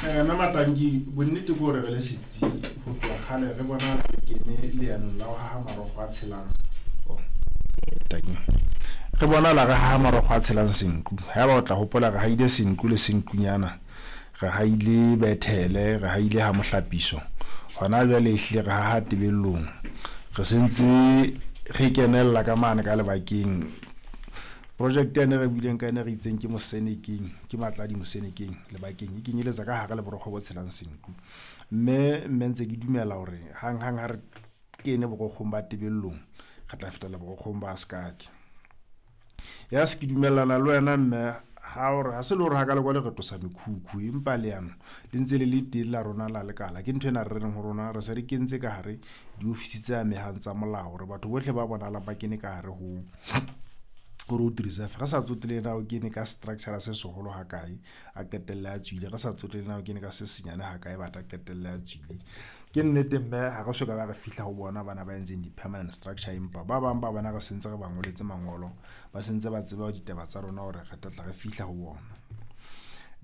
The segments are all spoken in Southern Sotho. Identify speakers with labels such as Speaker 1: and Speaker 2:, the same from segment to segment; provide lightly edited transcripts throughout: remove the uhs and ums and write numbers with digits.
Speaker 1: Mme Matanki, bonnete ke hore re le setsi ho tloha kgale re bona re kene leanong la ho haha marokgo a tshelang. Oh. Re bona la re haha marokgo a tshelang senku. Haeba o tla hopola re haile senku le senkunyana, re haile Bethele, re haile ha Mohlapiso. Hona jwale ehlile re haha Tebellong. Re sentse re kenella ka mane ka lebakeng. Project yane re buileng ka yona re itseng ke Mosenekeng, ke Matladi Mosenekeng lebakeng e kenyeletsa ka hare le borokgo bo tshelang senku. Mme mme ntse ke dumela hore hang-hang ha re kene borokgong ba Tebellong, re tla fetela borokgong ba Sekake. Ya se ke dumellana le wena mme ha hore ha se le hore ha ka le kwale re tlosa mekhukhu, empa leano le ntse le le teng la rona la lekala. Ke ntho ena re reng ho rona re se re kentse ka hare diofisi tse amehang tsa molao hore batho bohle ba bonahalang ba kene ka hare ho road reserve. Re sa tsotelle na o kene ka structure se seholo ha kae, a qetelle a tswile. Re sa tsotelle na o kene ka se senyane ha kae, batla qetelle a tswile. Ke nnete mme ha re soka ba re fihla ho bona bana ba entseng di-permanent structure, empa ba bang ba bona re sentse re ba ngoletse mangolo, ba sentse ba tseba ditaba tsa rona hore re tla tla re fihla ho bona.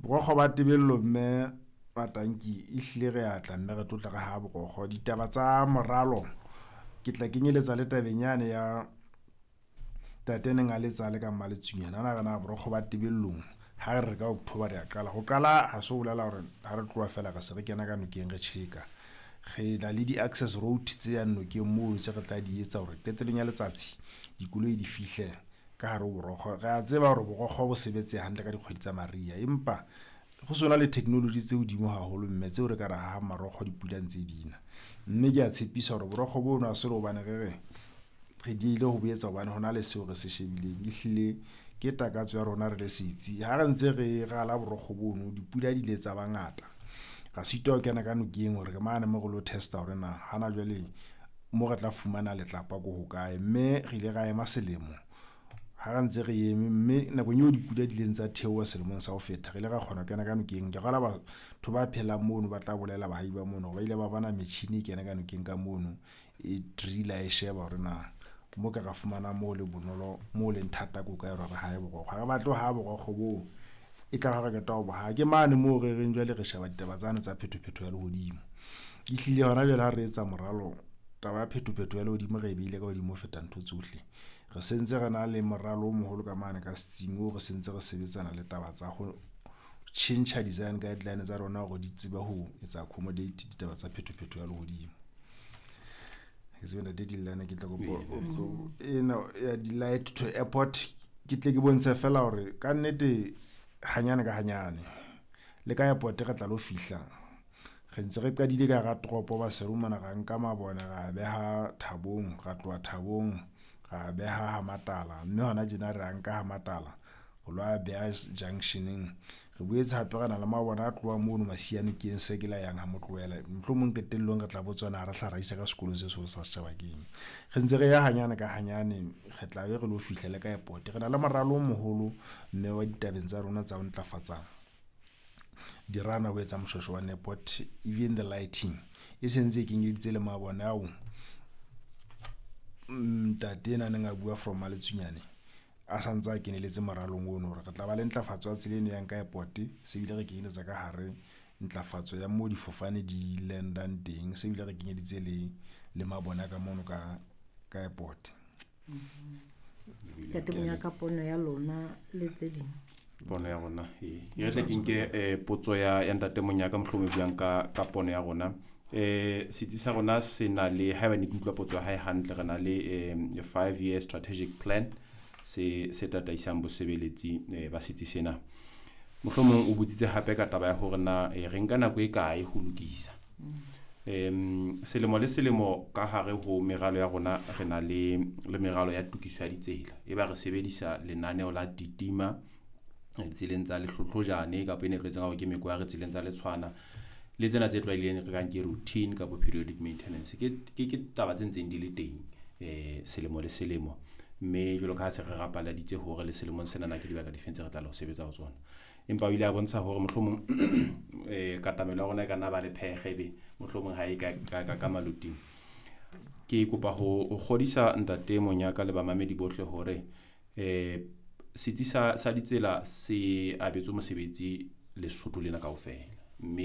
Speaker 1: Borokgo ba Tebello mme Matanki ehlile re atla mme re tlotla re ha borokgo. Ditaba tsa moralo ke tla kenyeletsa le tabeng yane ya tate neng a letsa le ka Mmaletsunyane. Ana re na borokgo ba Tebellong ha re re ka October re a qala. Ho qala ha se ho bolela hore ha re tloha fela re se re kena ka nokeng re tjheka. Re na le di-access road tse yang nokeng moo tse re tla di etsa hore qetellong ya letsatsi dikoloi di fihle ka hare ho borokgo. Re a tseba hore borokgo bo sebetse hantle ka dikgwedi tsa mariha, empa go sona le technology tse hodimo haholo mme tseo re ka re hahang marokgo dipula ntse dina. Mme ke a tshepisa hore borokgo bono ha se le hobane re re re diehile ho bo etsa hobane hona le seo re se shebileng. Ehlile ke takatso ya rona re le setsi. Ha re ntse re rala borokgo bono, dipula di ile tsa ba ngata. Ra sitwa ho kena ka nokeng hore mane mo re lo test-a hore na hana jwale mo re tla fumana letlapa ko hokae. Mme re ile ra ema selemo ha re ntse re eme, mme nakong eo dipula di ileng tsa theoha selemong sa ho feta, re ile ra kgona ho kena ka nokeng. Ke kgolwa batho ba phelang mono ba tla bolela baahi ba mono hore ba ile ba bona metjhini e kena ka nokeng ka mono, e driller e sheba hore na mo ka ra fumana mo le bonolo, mo leng thata ko kae hore re hae borokgo. Ha re batle ho haha borokgo boo e tla re qeta ho bo haha. Ke mane moo re reng jwale re sheba ditaba tsane tsa phethophetho ya lehodimo. Ehlile hona jwale ha re etsa moralo, taba ya phethophetho ya lehodimo re e beile ka hodimo ho feta ntho tsohle. Re sentse re na le moralo o moholo ka mane ka setsing oo re sentse re sebetsana le taba tsa ho tjhentjha design guideline tsa rona hore di tsebe ho etsa accommodate ditaba tsa phethophetho ya lehodimo. Ke tsebe ntate Dillane, ke tla kopa ena ya di-light to airport, ke tle ke bontshe fela hore ka nnete hanyane ka hanyane le ka airport re tla lo fihla. Re ntse re qadile ka hara toropo Maseru mona, ra nka mabone ra beha Thabong, ra tloha Thabong ra beha ha Matala, mme hona tjena re a nka ha Matala ho lo a beha junction-eng. Re boetse hape re na le mabone a tlohang mono Masianokeng se ke la yang ha Motlohela. Mohlomong qetellong re tla botswana ha re hla ra isa ka sekolong se seholo sa setjhaba keng. Re ntse re ya hanyane ka hanyane, re tla be re lo fihla le ka airport. Re na le moralo o moholo mme wa ditabeng tsa rona tsa ho ntlafatsa dirana ho etsa moshweshwe wa airport, even the lighting e sentse e kenyeleditse le mabone ao ntate ena neng a bua from Maletsunyane a santse a keneletse moralong ono hore re tla ba le ntlafatso ya tsela eno yang ka airport. Se bile re kenyeletsa ka hare ntlafatso ya moo difofane di landang teng, se bile re kenyeditse le mabone a ka mono ka airport.
Speaker 2: Ntate Monyaka, pono ya lona le tse ding.
Speaker 3: Pono ya rona ee, e re tle ke nke potso ya ntate Monyaka, mohlomong e buang ka pono ya rona. Setsi sa rona se na le, haeba ne ke utlwa potso ya hae hantle, re na le 5 year strategic plan se tataisang bosebeletsi ba setsi sena. Mohlomong o botsitse hape ka taba ya hore na re nka nako e kae ho lokisa. Selemo le selemo ka hare ho meralo ya rona re na le meralo ya tokiso ya ditsela, e ba re sebedisa lenaneo la titima tseleng tsa lehlohlojane kapa ene e tlwaetseng hore ke mekware tseleng tsa letshwana le tsena tse tlwaelehileng re kang ke routine kapa periodic maintenance. Ke taba tse ntseng di le teng selemo le selemo, mme jwalo ka ha se re rapaladitse hore le selemong sena ke dibaka difeng tse re tla le ho sebetsa ho tsona. Empa o ile a bontsha hore mohlomong katamelo ya rona e ka nna ba le phekge, ebe mohlomong ha e ka maloting. Ke kopa ho kgodisa ntate Monyaka le bamamedi bohle hore setsi sa ditsela se abetswe mosebetsi Lesotho lena kaofela.